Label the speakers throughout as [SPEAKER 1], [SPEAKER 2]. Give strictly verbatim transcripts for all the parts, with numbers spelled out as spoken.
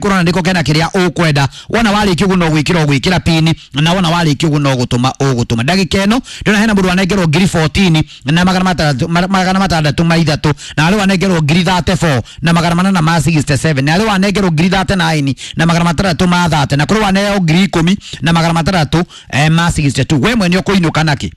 [SPEAKER 1] Kũrona nĩko kena kĩrĩa ũkwenda. Wona warĩkia ũguo no gwĩkĩra ũgwĩkĩra pini, na wona warĩkia ũguo no gũtũma ũgũtũma. Ndagĩka ĩno ndĩrona hena mũndũ wanengerwo ngiri fourteen na magana matandatũ magana matandatũ ma ithatũ, na harĩ wanengerwo ngiri thirty-four na magana manana ma sixty-seven, na harĩ wanengerwo ngiri thirty-nine na magana matandatũ ma thirty, na kũrĩ waneo ngiri ikũmi na magana matandatũ eh, ma sixty-two. We mwene ũkũinũka nakĩ?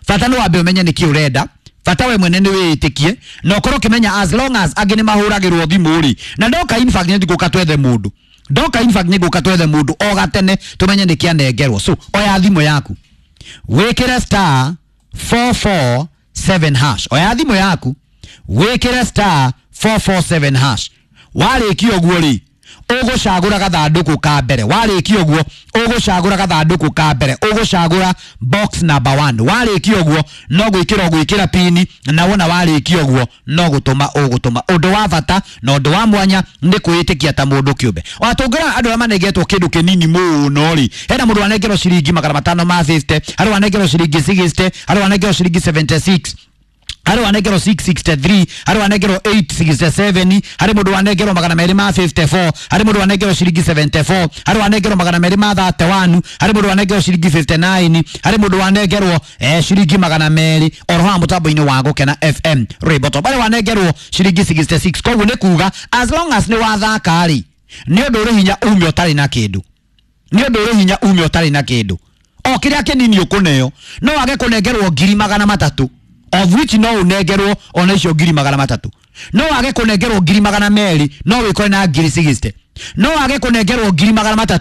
[SPEAKER 1] Bata nĩ wambe ũmenye nĩkĩ ũrenda. Bata we mwene nĩ wĩĩtĩkie na ũkorwo ũkĩmenya as long as angĩ nĩ mahũragĩrwo thimũ rĩ, na ndoka in fact nĩ ngũka twethe mũndũ, ndoka in fact nĩ ngũka twethe mũndũ o gatene tũmenye nĩkĩ anengerwo. So oya thimũ yaku wĩkĩre star four four seven hash. Oya thimũ yaku wĩkĩre star four four seven hash. Warĩkia ũguo rĩ, ũgũcagũra gathandũkũ ka mbere. Warĩkia ũguo ũgũcagũra gathandũkũ ka mbere, ũgũcagũra box number one. Warĩkia ũguo no gwĩkĩra ũgwĩkĩra pini, na wona warĩkia ũguo no gũtũma ũgũtũma. Ũndũ wa bata na ũndũ wa mwanya nĩ kwĩĩtĩkia ta mũndũ kĩũmbe. Ona tũngĩrora andũ arĩa manengetwo kĩndũ kĩnini mũno rĩ, hena mũndũ wanengerwo ciringi magana matano ma fifty, harĩ wanengerwo ciringi sixty, harĩ wanengerwo ciringi seventy-six, harĩ wanengerwo six sixty-three, harĩ wanengerwo eight sixty-seven, harĩ mũndũ wanengerwo magana merĩ ma fifty-four, harĩ mũndũ wanengerwo ciringi seventy-four, harĩ wanengerwo magana merĩ ma thirty-one, harĩ mũndũ wanengerwo ciringi fifty-nine, harĩ mũndũ wanengerwo eh, ciringi magana merĩ oro haha mũtambo-inĩ wa Gũkena F M Rwĩmbo Top. Harĩ wanengerwo ciringi sixty-six. Koguo nĩ kuga as long as nĩ wathaka rĩ, nĩ ũndũ ũrĩ hinya ume ũtarĩ na kĩndũ, nĩ ũndũ ũrĩ hinya ume ũtarĩ na kĩndũ. O kĩrĩa kĩnini ũkũneo no wage kũnengerwo ngiri magana matatũ, of which no unengerwo ona icio ngiri magana matatũ, no wage kũnengerwo ngiri magana merĩ no wĩkore na ngiri sixty, no wage kũnengerwo ngiri magana matatũ.